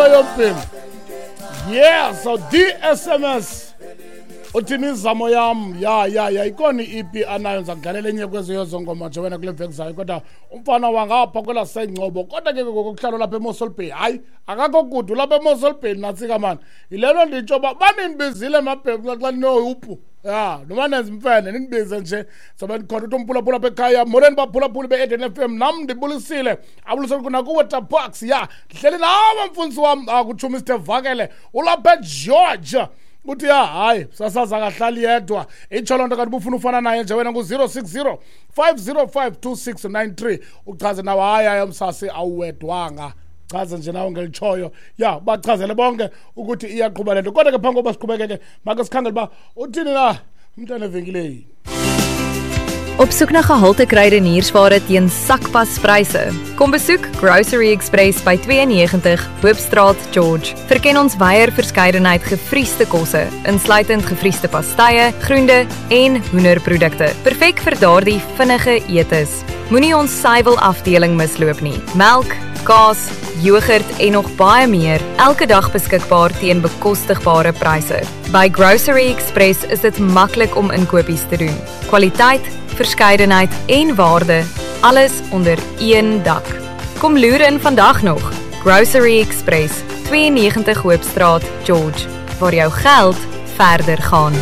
Into yombhemu. Yeah, so DSMS uthi imizamo yam. Ya ya ya, ikhona i-EP anayo, ndiza kudlalela enye kwezo zongoma nje wena kule veki zayo. Kodwa umfana wangapha kwelasengcobo, kodwa ke ngokuhlala lapha eMossel Bay, hayi akakho kude, ulapha eMossel Bay. Natsika mani, yile nto nditsho uba banindibizile mabheku xa ninoyuphu ya noma nenza imfene nindibize nje, sobe ndikhona. Uthi umphulaphula apha ekhaya, molweni baphulaphuli be-Eden FM, nam ndibulisile, abulisele kunakuwe Tabax. Ya, ndihleli nawe mfundisi wam, kutsho Mr Vakele ulapha eGeorge. Uthi ya hayi, sasaza akahlali yedwa, itsho loo nto. Kanti ubufuna ufana naye nje wena, ngu-060 505 2693, uchaze nawe. Hayi hayi, msasi awuwedwanga, chaze nje nawe ngelitshoyo. Ya, bachazele bonke ukuthi iyaqhuba le nto. Kodwa ke phambi koba siqhubekeke, make sikhangele uba uthini na umntana evenkileni. Op soek na gehalte kruideniersware teen sakpaspryse. Kom besoek Grocery Express by 92 Hoopstraat, George. Verken ons wyeer verskeidenheid gevriesde kosse, insluitend gevriesde pastye, groente en hoenderprodukte. Perfek vir daardie vinnige etes. Moenie ons suiwelafdeling misloop nie. Melk, kaas, yoghurt en nog baie meer, elke dag beskikbaar teen bekostigbare pryse. By Grocery Express is dit maklik om inkopies te doen. Kwaliteit, verskeidenheid en waarde, alles onder een dak. Kom loer in vandag nog. Grocery Express, 92 Hoopstraat, George, waar jou geld verder gaan.